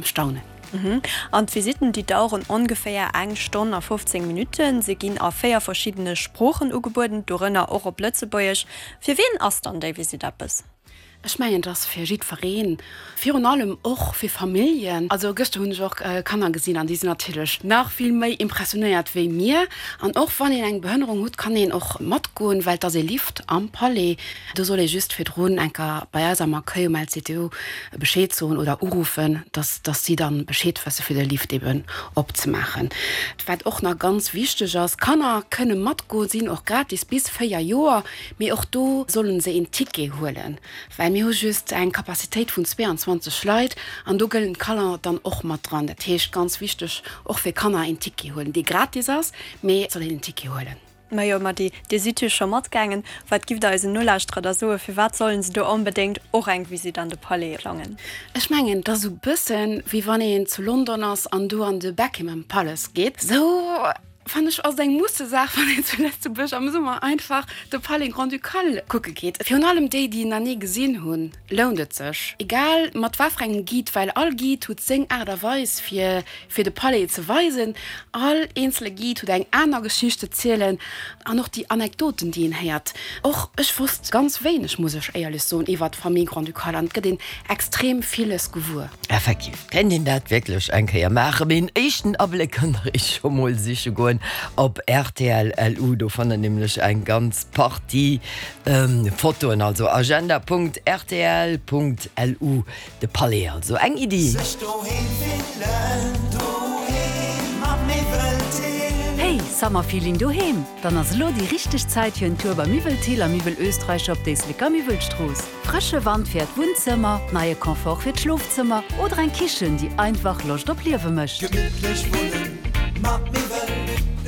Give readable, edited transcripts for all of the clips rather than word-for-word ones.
Staunen. An d'Visitten, déi daueren ongeféier eng Stonn a 15 Minutten. Se ginn a 4 verschiddene Sproochen ugebueden, dorënner och op Lëtzebuergesch. Fir wien ass dann déi Visitt eppes? Ech mengen, et ass fir jiddwereen, virun allem och fir Familljen. Also gëschter hunn ech och Kanner gesinn an déi sinn natierlech nach vill méi impressionéiert wéi mir. An och wann een eng Behënnerung hutt, kann een och matgoen, well et ass ee Lift am Palais. Do soll ee just virdrun enker bei eis am Accueil um LCTU Bescheed soen oder uruffen, dass dass si dann Bescheed wësse fir de Lift eben opzemaachen. Wat och nach ganz wichteg ass, Kanner kënne matgoen, sinn och gratis bis 4 Joer, mee och do sollen se een Ticket huelen, well mir hu just eng Capacitéit vun 22 Leit an do gëllen d'Kanner dann och mat dran. Dat heescht, ganz wichteg och fir Kanner een Ticket huelen, dee gratis ass, mee et soll een en Ticket huelen. Majo, ma déi, dir sidd jo scho matgaangen. Wat giff der eisen Nolauschterer da soen, firwat sollen se do onbedéngt och eng Visitt an de Palais plangen? Ech mengen, et ass esou bëssen, wéi wann een zu London ass an do an de Buckingham Palace geet. Esou fannen ech, ass et eng Mussesaach, wann een zu Lëtzebuerg am Summer einfach de Palais Grand-Ducal kucke geet. Virun allem déi, déi en nach ni gesinn hunn, lount et sech. Egal mat wat fir engem Guide, well all Guide huet seng Aart a Weis, fir fir de Palais ze weisen. All eenzele Guide huet eng aner Geschicht ze zielen an och déi Anekdoten, déi een héiert. Och ech wosst ganz wéineg, muss ech éierlech soen, iwwert d'Famille Grand-Ducale an et gëtt een extrem villes gewuer. Effektiv kéint een dat wierklech eng Kéier maachen, mee en éischten Abléck kënnt der iech scho mol siche goen op rtl. LU. Do fannt der nämlech eng ganz Partie Fotoen, also agenda.rtl.lu. De Palais also, eng Iddi. Sech doheem fillen, doheem am Miwwel-Thill. Hey, Summerfeeling doheem? Dann ass elo déi richteg Zäit fir en Tour bei Miwwel Thill a Miwwel Österreicher op d'Éisleker Miwwelstrooss. Frësche Wand fir äert Wunnzëmmer, neie Confort fir d'Schlofzëmmer oder eng Kichen, déi einfach Loscht op Liewe mécht. Gemittlech wunnen mat Miwwel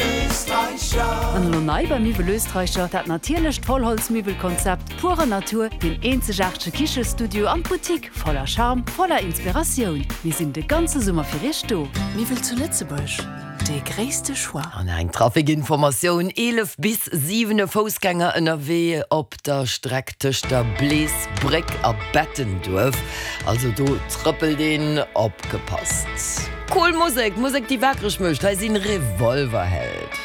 Österreicher. An elo nei bei Miwwel Österreicher, dat natierlecht Vollholzmiwwelkonzept. Pure Natur, deen eenzegaartege Kichestudio an d'Boutique voller Charme, voller Inspiratioun. Mir sinn de ganze Summer fir iech do. Miwwel zu Lëtzebuerg, dee gréisste Choix. An eng Trafikinformatioun, 11 bis 7 e Foussgänger ënnerwee op der Streck tëscht der Bleesbréck a Bettenduerf. Also do trëppelt een, opgepasst. Cool Musek, Musek déi wakereg mécht. Hei sinn Revolverheld.